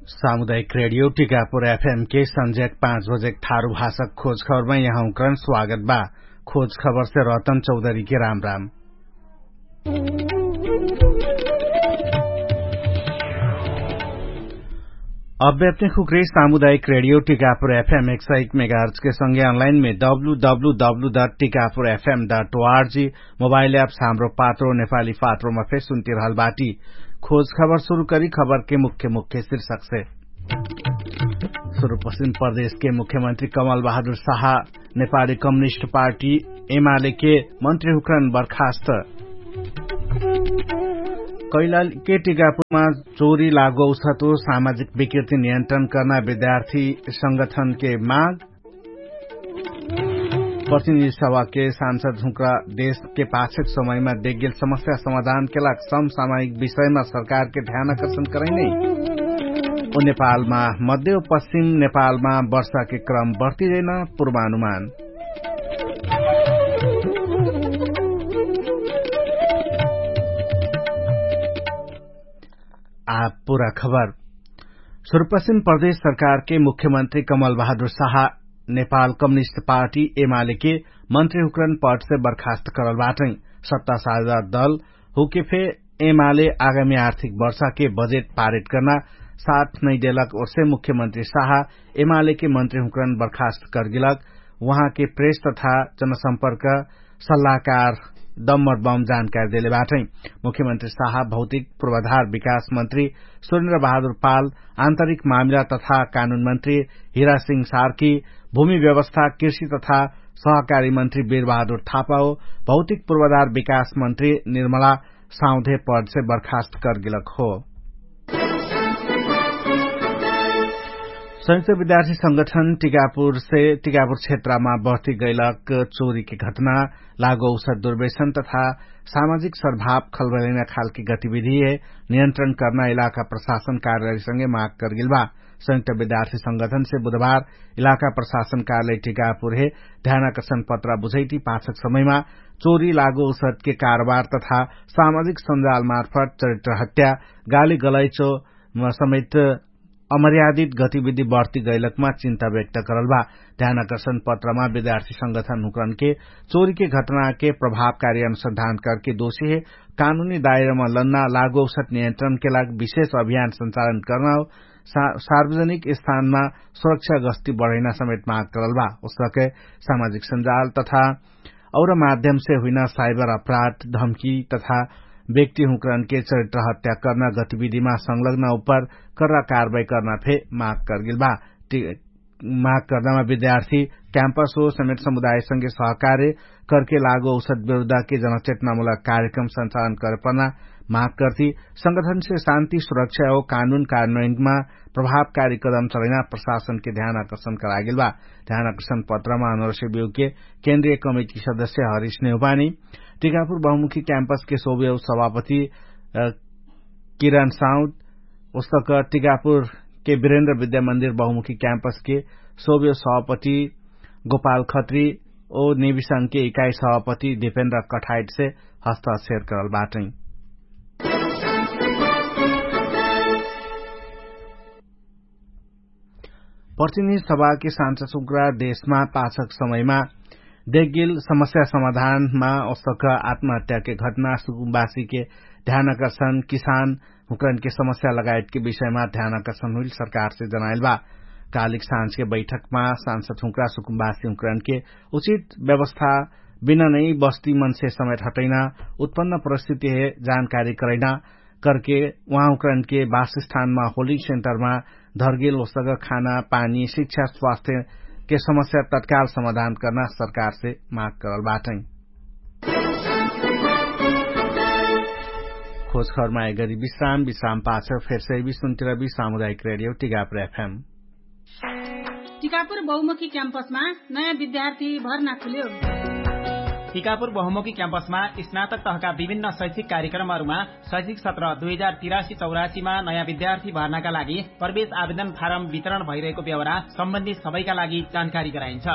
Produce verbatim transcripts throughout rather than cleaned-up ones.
सामुदायिक रेडियो टिकापुर एफएम के सन्ज्याक पाँच बजेक थारु भाषक खोज खबरमा यहाँउक्रन स्वागत बा। खोज खबरसे रतन चौधरीके राम राम। अब्याप्ने खुक्रे सामुदायिक रेडियो टिकापुर एफएम एक सय एक मेगाहर्चके सँगे अनलाइनमे W W W dot Tikapur F M dot O R G mobile apps Hamro Patro नेपाली पात्रोमा फेर सुन्तिरहल बाटी। खोज खबर सुरु करी खबरके मुख्य मुख्य शीर्षकसे। सुरुपश्चिम प्रदेशके मुख्यमन्त्री कमल बहादुर साहा नेपाली कम्युनिस्ट पार्टी एमालेके मन्त्री हुक्रन बर्खास्त। कैलालके टिकापुरमा चोरी लागो उसतो सामाजिक विकृति नियन्त्रण कर्ना विद्यार्थी संगठनके माग। प्रतिनिधि सभाके सांसद हुँक्रा देशके पाछेक समयमा देख्गेल समस्या समाधानके लाग समसामायिक विषयमा सरकारके ध्यान आकर्षण करैनै। ओ नेपालमा मध्य पश्चिम नेपालमा वर्षाके क्रम बढ्तिदैन। पूर्वानुमान। आ पुरा खबर। सुरुपश्चिम प्रदेश सरकारके मुख्यमन्त्री कमल बहादुर साहा नेपाल कम्युनिस्ट पार्टी एमालेके मन्त्री हुक्रन पटसे बर्खास्त करल बाटै। सत्ता साझा दल हुके फे एमाले आगामी आर्थिक वर्षाके बजेट पारित कर्ना साथ नैदेलक ओर्से मुख्यमन्त्री साहा एमालेके मन्त्री हुक्रन बर्खास्त करगिलक उहाँके प्रेस तथा जनसम्पर्क सल्लाहकार दम्मर बम जानकारी देले बाटै। मुख्यमन्त्री साहा भौतिक पूर्वाधार विकास मन्त्री सुरेन्द्र बहादुर पाल, आन्तरिक मामिला तथा कानुन मन्त्री हिरा सिंह सार्की, भूमि व्यवस्था कृषि तथा सहकारी मन्त्री वीर बहादुर थापाओ, भौतिक पूर्वाधार विकास मन्त्री निर्मला साउँधे पदसे बर्खास्त करगिलक हो। संयुक्त विद्यार्थी संगठन टिकापुरसे टिकापुर क्षेत्रमा बढ्ती गैलक चोरीके घटना लागो औषध दुर्वेशन तथा सामाजिक सद्भाव खलबलैना खालके गतिविधि हे नियन्त्रण कर्ना इलाका प्रशासन कार्यालयसँगे माग करगिल बा। संयुक्त विद्यार्थी संगठनसे बुधबार इलाका प्रशासन कार्यालय टिकापुर हे ध्यानाकर्षण पत्रा बुझैटी पाछक समयमा चोरी लागो औषधके कारोबार तथा सामाजिक सञ्जालमार्फत चरित्र हत्या गाली गलैचो समेत अमर्यादित गतिविधि बढ्ती गैलकमा चिन्ता व्यक्त करल बा। ध्यानाकर्षण पत्रमा विद्यार्थी संगठन हुक्रनके चोरीके घटनाके प्रभावकारी अनुसन्धान करके दोषीहे कानुनी दायरामा लन्ना लागो औषध नियन्त्रणके लाग विशेष अभियान सञ्चालन कर्ना हो। सार्वजनिक स्थानमा सुरक्षा गस्ती बढैना समेत माग करल बा। उसके सामाजिक सञ्जाल तथा और माध्यमसे हुइना साइबर अपराध धम्की तथा व्यक्ति हुँकरनके चरित्र हत्या कर्ना गतिविधिमा संलग्न उपर कर्रा कार्वाही कर्ना फे माग करगेल बा। माग कर्नामा विद्यार्थी क्याम्पस हो समेत समुदायसँगे सहकार्य करके लागो औषध विरुद्धके जनचेतनामुलक कार्यक्रम सञ्चालन करे पर्ना माग कर्ती संगठनसे शान्ति सुरक्षा हो कानुन कार्यान्वयनमा प्रभावकारी कदम चलैना प्रशासनके ध्यान आकर्षण करागेल बा। ध्यान आकर्षण पत्रमा अनरसे बिउके केन्द्रीय कमिटी सदस्य हरिष नेउपानी, टिकापुर बहुमुखी क्याम्पसके सोभ्यौ सभापति किरण साउद, उस्तक टिकापुरके विरेन्द्र विद्यामन्दिर बहुमुखी क्याम्पसके सोभ्यौ सभापति गोपाल खत्री, ओ नेविसंघके इकाई सभापति दिपेन्द्र कठाइटसे हस्तक्षेर करल बाटै। प्रतिनिधि सभाके सांसद सुक्रा देशमा पाछक समयमा देखगेल समस्या समाधानमा ओसक आत्महत्याके घटना सुकुम्बासीके ध्यान आकर्षण किसान हुक्रनके समस्या लगायतके विषयमा ध्यान आकर्षण हुइल सरकारसे जनाइल बा। कालिक साँझके बैठकमा सांसद हुक्रा सुकुम्बासी हुक्रनके उचित व्यवस्था बिना नै बस्ती मनसे समेत हटैना उत्पन्न परिस्थिति हे जानकारी करैना करके उहाँ उक्रनके वासस्थानमा होलिङ सेन्टरमा धर्गेल ओसग खाना पानी शिक्षा स्वास्थ्यके समस्या तत्काल समाधान कर्ना सरकारसे माग करल बाटै। खोज खबरमा एगरी विश्राम विश्राम पाछ फेरसे विश्वन्तिरबी सामुदायिक रेडियो टिकापुर एफएम। टिकापुर बहुमुखी क्याम्पसमा नयाँ विद्यार्थी भर्ना खुल्यो। टिकापुर बहुमुखी क्याम्पसमा स्नातक तहका विभिन्न शैक्षिक कार्यक्रमहरूमा शैक्षिक सत्र दुई हजार तिरासी चौरासीमा नयाँ विद्यार्थी भर्नाका लागि प्रवेश आवेदन फारम वितरण भइरहेको व्यवहार सम्बन्धी सबैका लागि जानकारी गराइन्छ।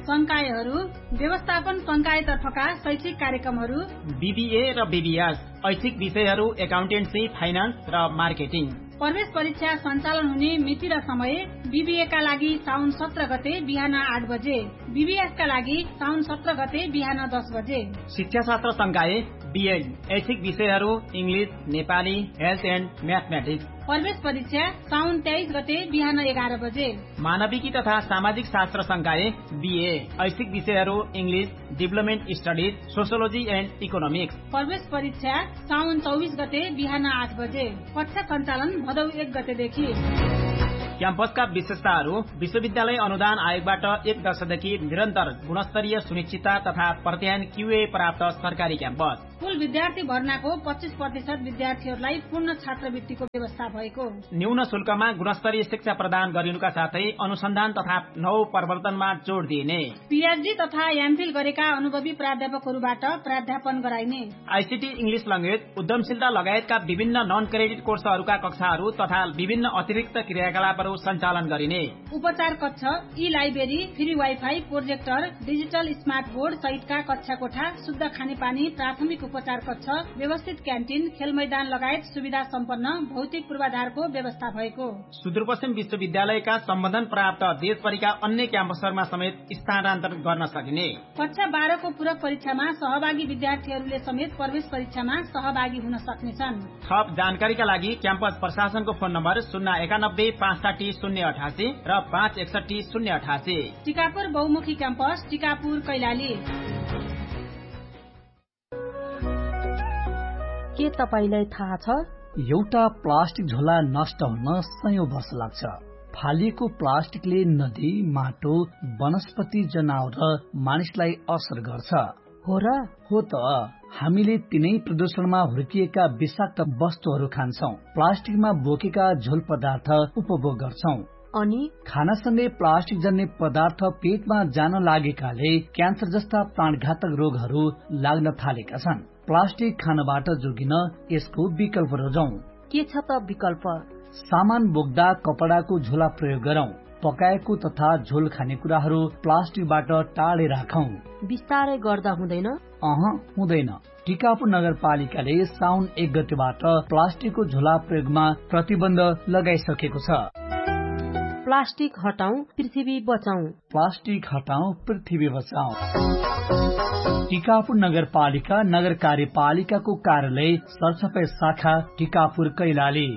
संकायहरू व्यवस्थापन संकायतर्फका शैक्षिक कार्यक्रमहरू बिबिए र बिबिएस, ऐच्छिक विषयहरू एकाउन्टेन्सी फाइनान्स र मार्केटिङ। प्रवेश परीक्षा सञ्चालन हुने मिति र समय बिबिएका लागि साउन सत्र गते बिहान आठ बजे, बिबिएसका लागि साउन सत्र गते बिहान दस बजे। शिक्षाशास्त्र संकाय बिएड, ऐच्छिक विषयहरू, इङ्ग्लिस, नेपाली, हेल्थ एन्ड म्याथम्याटिक्स। प्रवेश परीक्षा साउन तेइस गते बिहान एघार बजे। मानविकी तथा सामाजिक शास्त्र संकाय बिए, ऐच्छिक विषयहरू, English, deployment studies, sociology end economics. प्रवेश परीक्षा साउन चौबिस गते बिहान आठ बजे। कक्षा सञ्चालन भदौ एक गतेदेखि। क्याम्पसका विशेषताहरू, विश्वविद्यालय अनुदान आयोगबाट एक दशकदेखि निरन्तर गुणस्तरीय सुनिश्चितता तथा प्रत्यायन क्युए प्राप्त सरकारी क्याम्पस। कुल विद्यार्थी भर्नाको पच्चिस प्रतिशत विद्यार्थीहरूलाई पूर्ण छात्रवृत्तिको व्यवस्था भएको। न्यून शुल्कमा गुणस्तरीय शिक्षा प्रदान गरिनुका साथै अनुसन्धान तथा नव प्रवर्तनमा जोड दिइने। पिएचडी तथा एमफिल गरेका अनुभवी प्राध्यापकहरूबाट प्राध्यापन गराइने। आइसिटी, इङ्ग्लिस ल्याङ्ग्वेज, उद्यमशीलता लगायतका विभिन्न नन क्रेडिट कोर्सहरूका कक्षाहरू तथा विभिन्न अतिरिक्त क्रियाकलापहरू सञ्चालन गरिने। उपचार कक्ष, ई library, free wifi, projector, digital smart board सहितका कक्षा कोठा, शुद्ध खानेपानी, प्राथमिक उपचार कक्ष, व्यवस्थित क्यान्टिन, खेलमैदान लगायत सुविधा सम्पन्न भौतिक पूर्वाधारको व्यवस्था भएको। सुदूरपश्चिम विश्वविद्यालयका सम्बन्धन प्राप्त देशभरिका अन्य क्याम्पसहरूमा समेत स्थानान्तरण गर्न सकिने। कक्षा बाह्रको पूरक परीक्षामा सहभागी विद्यार्थीहरूले समेत प्रवेश परीक्षामा सहभागी हुन सक्नेछन्। थप जानकारीका लागि क्याम्पस प्रशासनको फोन नम्बर शून्य एकानब्बे पाँच साठी शून्य अठासी र पाँच एकसठी शून्य अठासी। टिकापुर बहुमुखी क्याम्पस, टिकापुर कैलाली। के तपाईंलाई थाहा छ? एउटा प्लास्टिक झोला नष्ट हुन सयौं वर्ष लाग्छ। फालिएको प्लास्टिकले नदी, माटो, वनस्पति, जनावर र मानिसलाई असर गर्छ। हो र? हो त। हामीले तिनै प्रदूषणमा हुर्किएका विषाक्त वस्तुहरू खान्छौं। प्लास्टिकमा बोकेका झोल पदार्थ उपभोग गर्छौं। अनि? खानासँगै प्लास्टिक जन्ने पदार्थ पेटमा जान लागेकाले क्यान्सर जस्ता प्राणघातक रोगहरू लाग्न थालेका छन्। प्लास्टिक खानबाट जोगिन यसको विकल्प रोजौं। के छ त विकल्प? सामान बोक्दा कपडाको झोला प्रयोग गरौं। पकाएको तथा झोल खाने कुराहरू प्लास्टिकबाट टाढे राखौं। बिस्तारै गर्दा हुँदैन? अह, हुँदैन। टिकापुर नगरपालिकाले साउन एक गतेबाट प्लास्टिकको झोला प्रयोगमा प्रतिबन्ध लगाइसकेको छ। प्लास्टिक हटाउँ, पृथ्वी बचाउँ। प्लास्टिक हटाउँ, पृथ्वी बचाउँ। टिकापुर नगरपालिका, नगरकार्यपालिकाको कार्यालय, सरसफाई शाखा, टिकापुर कैलाली।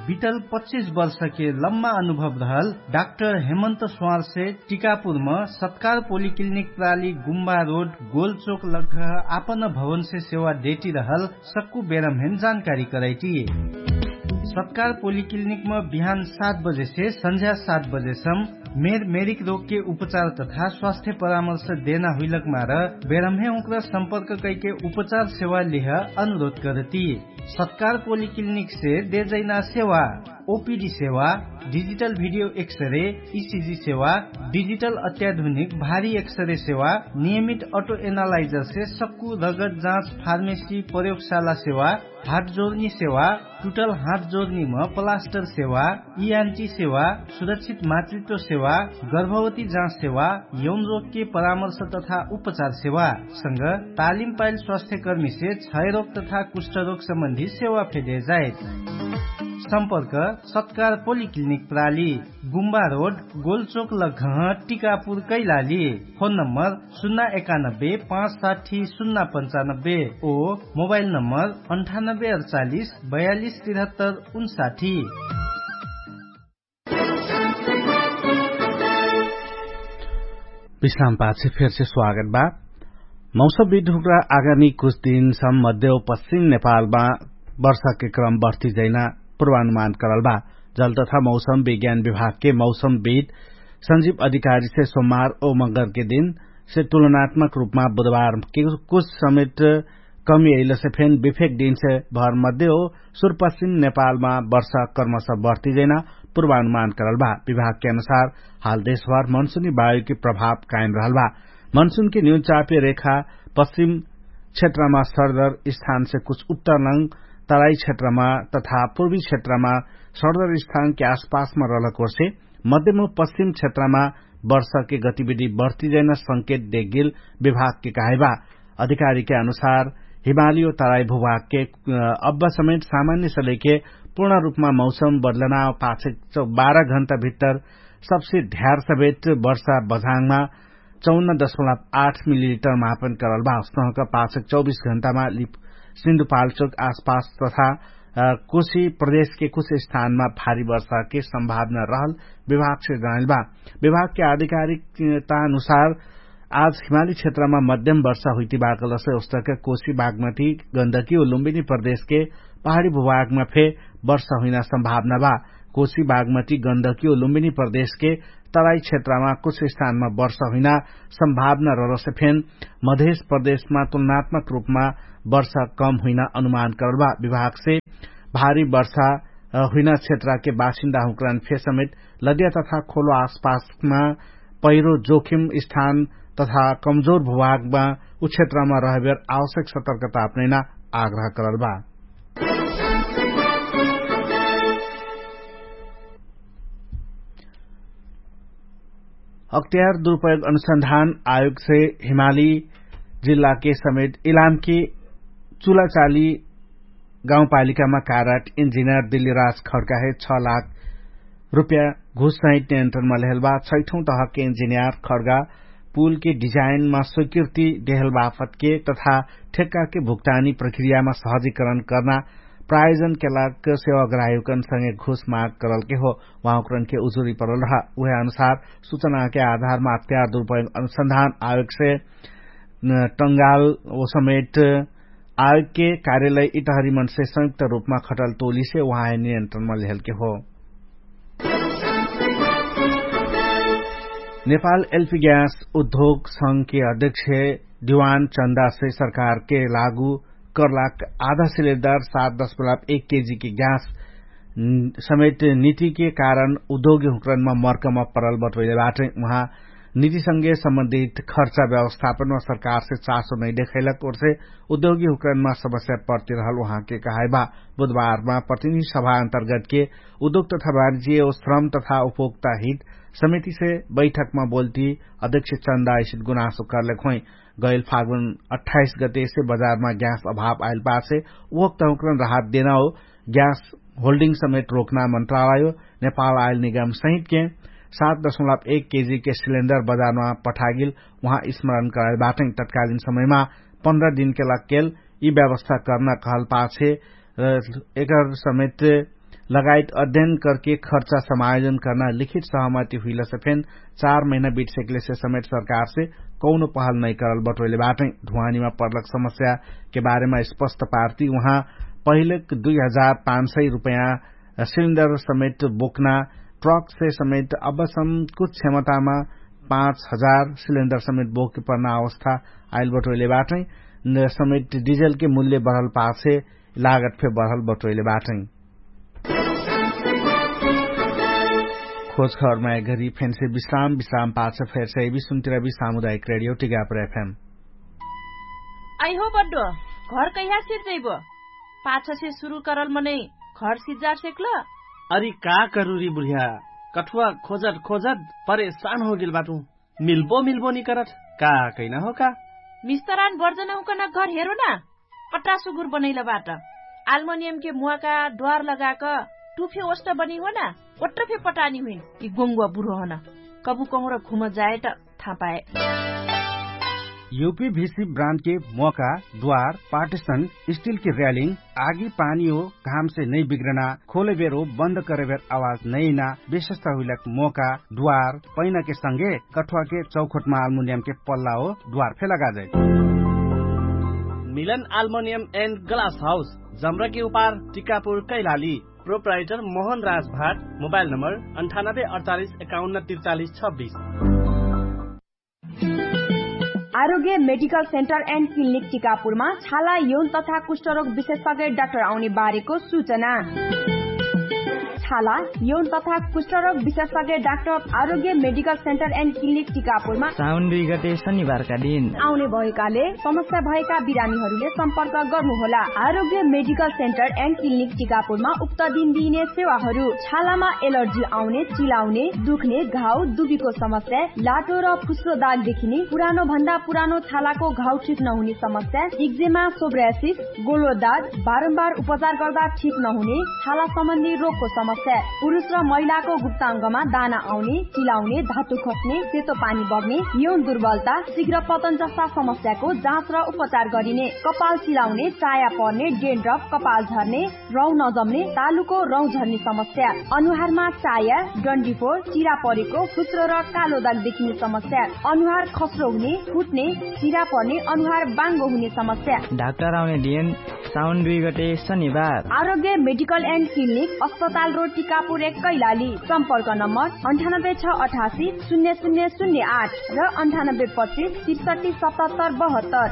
बितल पच्चिस वर्षके लम्मा अनुभव रहल डाक्टर हेमन्त स्वारसे टिकापुरम सत्कार पोलिक्लिनिक प्राली गुम्बा रोड गोलचोक लग्घह आपन भवनसे सेवा देटिरहल सक्कु बेरम्हेन जानकारी करैटी। सत्कार पोलिक्लिनिकम बिहान सात बजेसे सन्झ्या सात बजेसम मेर मेरिक रोगके उपचार तथा स्वास्थ्य परामर्श देना हुइलक मार बेरम्हे उक्रा सम्पर्क कैके उपचार सेवा लिह अनुरोध करती। सत्कार पोलिक्लिनिकसे देजैना सेवा, ओपिडी सेवा, डिजिटल भिडियो एक्सरे, इसिजी सेवा, डिजिटल अत्याधुनिक भारी एक्सरे सेवा, नियमित अटो एनालाइजरसे सक्कु रगत जाँच, फार्मेसी, प्रयोगशाला सेवा, हात जोर्नी सेवा, टुटल हात जोर्नीम प्लास्टर सेवा, इयान्टी सेवा, सुरक्षित मातृत्व सेवा, गर्भवती जाँच सेवा, यौन रोगके परामर्श तथा उपचार सेवा संग तालिम पाइल स्वास्थ्यकर्मीसे क्षयरोग तथा कुष्ठरोग सम्बन्धी सेवा फेदे जाइत। सम्पर्क सत्कार पोलिक्लिनिक प्राली, गुम्बा रोड, गोलचोक लग्घह, टिकापुर कैलाली। फोन नम्बर सुन्ना एकानब्बे पाँच साठी सुन्ना पन्चानब्बे ओ मोबाइल नम्बर अन्ठानब्बे अडचालिस बयालिस तिरहत्तर उन्साठी। विश्राम पाछे फेरसे स्वागत बा। मौसम विधुक्रा आगामी कुछ दिन सम्म मध्य पश्चिम नेपालमा वर्षाके क्रम बढ्ती जैना पूर्वानुमान करल बा। जल तथा मौसम विज्ञान विभागके मौसम विध संजीव अधिकारीसे सोमार ओ मगरके दिनसे तुलनात्मक रूपमा बुधबारके कुछ समेट कमी अइलसे फेन विफेक दिनसे भर मध्य हो सुरपश्चिम नेपालमा वर्षा कर्मश बढ्ती जैना पूर्वानुमान करल बा। विभागके अनुसार हाल देशभर मनसुनी वायुके प्रभाव कायम रहल बा। मनसुनके न्यून चापे रेखा पश्चिम क्षेत्रमा सरदर स्थानसे कुछ उत्तरलङ तराई क्षेत्रमा तथा पूर्वी क्षेत्रमा सरदर स्थानके आसपासमा रहलक ओर्से मध्यम पश्चिम क्षेत्रमा वर्षाके गतिविधि बढ्ती जैना संकेत देगिल विभागके कहाइबा। अधिकारीके अनुसार हिमाली ओ तराई भुभागके अब्बा समेट सामान्य सलेके पूर्ण रूपमा मौसम बदलना पाछे बाह्र घण्टा भित्तर सबसे ध्यार समेट वर्षा बझाङमा चौन्न दशमलव आठ मिलिलिटर मापन करल बा। उसनहक पाछक चौबीस घण्टामा लिप सिन्धुपाल्चोक आसपास तथा कोशी प्रदेशके कुछ स्थानमा भारी वर्षाके सम्भावना रहल विभागसे जनाइल बा। विभागके आधिकारिकता अनुसार आज हिमाली क्षेत्रमा मध्यम वर्षा हुइती बाकलसे उस्तक कोशी बागमती गन्दकी ओ लुम्बिनी प्रदेशके पहाडी भुभागमा फे वर्षा हुइना सम्भावना बा। कोशी बागमती गन्दकी ओ लुम्बिनी प्रदेशके तराई क्षेत्रमा कुछ स्थानमा वर्षा हुइना सम्भावना रहलसे फेन मधेश प्रदेशमा तुलनात्मक रूपमा वर्षा कम हुइना अनुमान करल बा। विभागसे भारी वर्षा हुइना क्षेत्रके बासिन्दा हुँकरान फे समेत लदिया तथा खोलो आसपासमा पहिरो जोखिम स्थान तथा कमजोर भुभागमा उ क्षेत्रमा रहबेर आवश्यक सतर्कता अपनैना आग्रह करल बा। अख्तियार दुरुपयोग अनुसन्धान आयोगसे हिमाली जिल्लाके समेत इलामके चुलाचाली गाउँपालिकामा कारट इन्जिनियर दिल्ली राज खड्काहे छ लाख रुपया घुससहित नियन्त्रणमा लेहल बा। छैठौं तहके इन्जिनियर खड्गा पुलके डिजाइनमा स्वीकृति देहल बाफतके तथा ठेक्काके भुक्तानी प्रक्रियामा सहजीकरण कर्ना प्रायोजनके लाग सेवाग्राहीकनसँगे घुस माग करलके हो। उहाँकरनके उजुरी परल रहा उहे अनुसार सुचनाके आधारमा अख्तियार दुरुपयोग अनुसन्धान आयोगसे टंगाल ओ समेट आयोगके कार्यालय इटहरी मनसे संयुक्त रूपमा खटल टोलीसे उहाँ नियन्त्रणमा लेहलके हो। नेपाल एलपी ग्यास उद्योग संघके अध्यक्ष दिवान चन्दासे सरकारके लागू कर्लाक आधा सिलेन्डर सात दशमलव एक केजीके ग्यास समेत नितिके कारण उद्योगी हुँकरणमा मर्कमा परल बटोइले बाटै। उहाँ नितिसँगे सम्बन्धित खर्चा व्यवस्थापनमा सरकारसे चासो नै देखैलक ओर्से उद्योगी हुँकरणमा समस्या पर्तिरहल उहाँके कहाइबा। बुधबारमा प्रतिनिधि सभा अन्तर्गतके उद्योग तथा वाणिज्य ओ श्रम तथा उपभोक्ता हित समितिसे बैठकमा बोल्ती अध्यक्ष चन्दा ऐसित गुनासो करलेक होइ। गैल फागुन अट्ठाइस गतेसे बजारमा ग्यास अभाव आइल पाछे उहक तहुँकरण राहत देना हो। ग्यास होल्डिङ समेत रोक्ना मन्त्रालय नेपाल आइल निगम सहितके सात दशमलव एक केजीके सिलेन्डर बजारमा पठागिल उहाँ स्मरण कराइल बाटै। तत्कालिन समयमा पन्ध्र दिनके लक्केल यि व्यवस्था कर्ना कहल पाछे एकर समेत लगायत अध्ययन करके खर्चा समायोजन कर्ना लिखित सहमति हुइलसे फेन चार महिना बिटसेकलेसे समेत सरकारसे कौनो पहल नै करल बटोइले बाटै। धुवानीमा पर्लक समस्याके बारेमा स्पष्ट पार्ती उहाँ पहिलेक दुई हजार पाँच सय रुपैयाँ सिलिन्डर समेत बोक्ना ट्रकसे समेत अबसम कुछ क्षमतामा पाँच हजार सिलिन्डर समेत बोके पर्ना अवस्था आइल बटोइले बाटै। समेत डिजलके मूल्य बढल पाछे लागत फे बढल बटोइले बाटै। खोज खबरमा एघरी फेन्से विश्राम विश्राम पाछ फेर्से बिसुन्तिरबी सामुदायिक रेडियो टिगापर एफएम। आइहो बड्डो, घर कैहा सिर्जैबो? पाछसे सुरु करल मनै घर सिज्जार सेक्ल? अरि का करुरी बुढिया, कठुवा खोजत खोजत परेशान होगेल बाटु। मिल्बो मिल्बो निकरत का कैना हो का? मिस्तरान बर्जन हुकन घर हेरो ना। अट्टा सुगुर बनैल बाट। आल्मोनियमके मुवाका द्वार लगाक टुफे ओष्ट बनी हो ना। ओट्ट फे पटानी हुइन यि गोङ्गुवा बुढो हन। कबु कहुँर घुम जाए त थापाए। युपी भिसी ब्रान्डके मोका द्वार पार्टिसन स्टिलके र्यालिङ आगी पानी हो घामसे नै बिग्रना खोलेबेर हो बन्द करेबेर आवाज नैना विशेषता हुइलक मोका द्वार पैनाके संगे कठुवाके चौखोटमा आल्मुनियमके पल्ला हो द्वार फे लगाजै। मिलन आल्मुनियम एन्ड ग्लास हाउस जम्रकी उपार टिकापुर कैलाली। प्रोप्राइटर मोहन राज भाट। मोबाइल नम्बर अन्ठानब्बे अडचालिस एकाउन्न त्रिचालिस छब्बिस। आरोग्य मेडिकल सेन्टर एन्ड क्लिनिक टिकापुरमा छाला यौन तथा कुष्ठरोग विशेषज्ञ डाक्टर आउने बारेको सूचना। छाला, यौन तथा कुष्ठरोग विशेषज्ञ डाक्टर आरोग्य मेडिकल सेन्टर एन्ड क्लिनिक टिकापुरमा साउन दुई गते शनिबारका दिन आउने भएकाले समस्या भएका बिरामीहरूले सम्पर्क गर्नुहोला। आरोग्य मेडिकल सेन्टर एन्ड क्लिनिक टिकापुरमा उक्त दिन दिइने सेवाहरू छालामा एलर्जी आउने, चिलाउने, दुख्ने, घाउ, दुबीको समस्या, लाटो र फुस्रो दाग देखिने, पुरानो भन्दा पुरानो छालाको घाउ ठिक नहुने समस्या, इक्जेमा, सोब्रासिस, गोलो दाग, बारम्बार उपचार गर्दा ठिक नहुने, छाला सम्बन्धी रोगको समस्या, पुरुष र महिलाको गुप्ताङ्गमा दाना आउने, चिलाउने, धातु खस्ने, सेतो पानी बग्ने, यौन दुर्बलता, शीघ्र पतन जस्ता समस्याको जाँच र उपचार गरिने, कपाल चिलाउने, चाया पर्ने, डेन्ड्रफ, कपाल झर्ने, रौँ नजम्ने, तालुको रौँ झर्ने समस्या, अनुहारमा चाया, डन्डीफोर, चिरा परेको, फुस्रो र कालो दाग देखिने समस्या, अनुहार खस्रो हुने, फुट्ने, चिरा पर्ने, अनुहार बाङ्गो हुने समस्या। डाक्टर आउने दिन साउन दुई गते शनिबार। आरोग्य मेडिकल एन्ड क्लिनिक, अस्पताल रोड, टिकापुर एक, कैलाली। सम्पर्क नम्बर अन्ठानब्बे छ अठासी शून्य शून्य शून्य आठ र अन्ठानब्बे पच्चिस त्रिसठी सतहत्तर बहत्तर।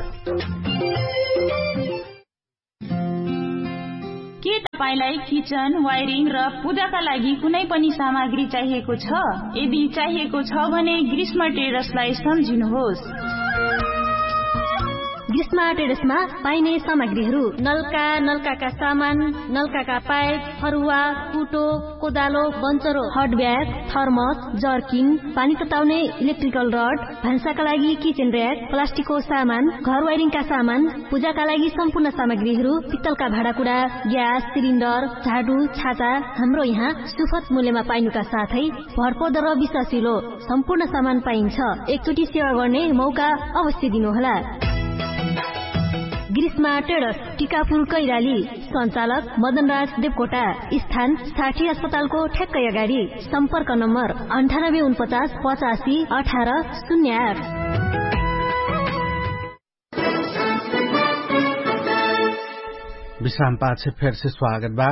के तपाईंलाई किचन, वायरिङ र पूजाका लागि कुनै पनि सामग्री चाहिएको छ? यदि चाहिएको छ भने ग्रीष्म ट्रेडर्सलाई सम्झिनुहोस्। ग्रीष्म ट्रेडर्समा पाइने सामग्रीहरू: नलका, नलकाका सामान, नलकाका पाइप, फरुवा, कुटो, कोदालो, बन्चरो, हट ब्याग, थर्मस, जर्किन, पानी तताउने इलेक्ट्रिकल रड, भान्साका लागि किचन र्‍याक, प्लास्टिकको सामान, घर वायरिङका सामान, पूजाका लागि सम्पूर्ण सामग्रीहरू, पित्तलका भाँडाकुडा, ग्यास सिलिन्डर, झाडु, छाता, हाम्रो यहाँ सुफत मूल्यमा पाइनुका साथै भरपर्दो र विश्वासिलो सम्पूर्ण सामान पाइन्छ। एकचोटि सेवा गर्ने मौका अवश्य दिनुहोला। ग्रीष्मा ट्रेडर्स, टिकापुर कैराली। सञ्चालक मदनराज देवकोटा। स्थान साठी अस्पतालको ठ्याक्कै अगाडि। सम्पर्क नम्बर अन्ठानब्बे उनपचास पचासी अठार शून्य आठ। विश्राम पाछे फेरसे स्वागत बा।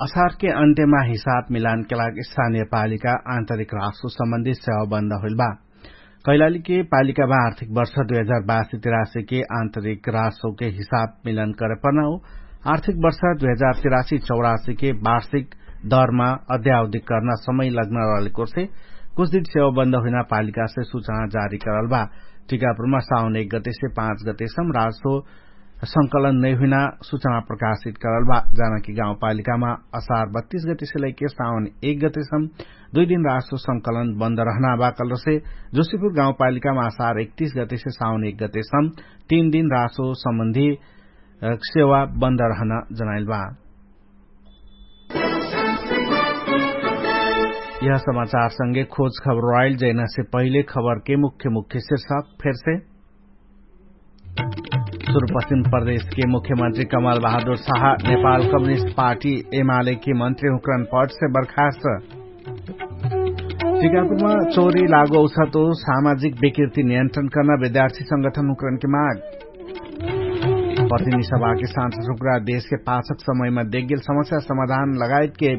असारके अन्त्यमा हिसाब मिलानके लागि स्थानीय पालिका आन्तरिक रासो सम्बन्धी सेवा बन्द होइल बा। कैलालीके पालिकामा आर्थिक वर्ष दुई हजार बासी तिरासीके आन्तरिक रासोके हिसाब मिलन करे पर्ना हो। आर्थिक वर्ष दुई हजार तिरासी चौरासीके वार्षिक दरमा अध्यावधिक कर्ना समय लग्न रहलेकोसे कुछ दिन सेवा बन्द हुइना पालिकासे सुचना जारी करल बा। टिकापुरमा साउन एक गतेसे पाँच गतेसम रासो संकलन नैहुइना सुचना प्रकाशित करल बा। जानकी गाउँपालिकामा असार बत्तीस गतेसे लैके साउन एक गतेसम दुइ दिन रासो संकलन बन्द रहना बा कलरसे जोसिपुर गाउँपालिकामा असार एकतीस गतेसे साउन एक गतेसम तीन दिन रासो सम्बन्धी सेवा बन्द रहना जनाइल बा। यह समाचारसँगे खोज खबर आइल जैनासे पहिले खबरके मुख्य मुख्य शिर्षक फेरसे। सुरुपश्चिम प्रदेशके मुख्यमन्त्री कमल बहादुर साहा नेपाल कम्युनिस्ट पार्टी एमालेके मन्त्री हुक्रन पटसे बर्खास्त। टिकापुरमा चोरी लागो औसतो सामाजिक विकृति नियन्त्रण कर्ना विद्यार्थी संगठन हुक्रनके माग। प्रतिनिधि सभाके सान्त सुक्रा देशके पाछक समयमा देखगेल समस्या समाधान लगायतके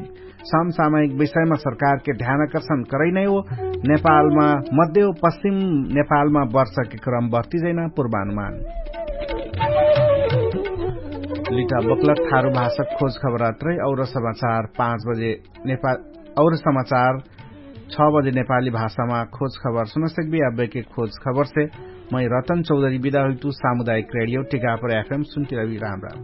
समसामयिक विषयमा सरकारके ध्यानाकर्षण करैनै हो। नेपालमा मध्य पश्चिम नेपालमा वर्षके क्रम बर्तिजैना पूर्वानुमान। लिटा बक्लक थारु भाषक खोज खबरात्रै और समाचार पाँच बजे नेपाल और समाचार छ बजे नेपाली भाषामा खोज खबर सुनसक्बी। अब्बेके खोज खबरसे मै रतन चौधरी बिदा हुइतु। सामुदायिक रेडियो टिकापर एफएम सुनकिरबी राम राम।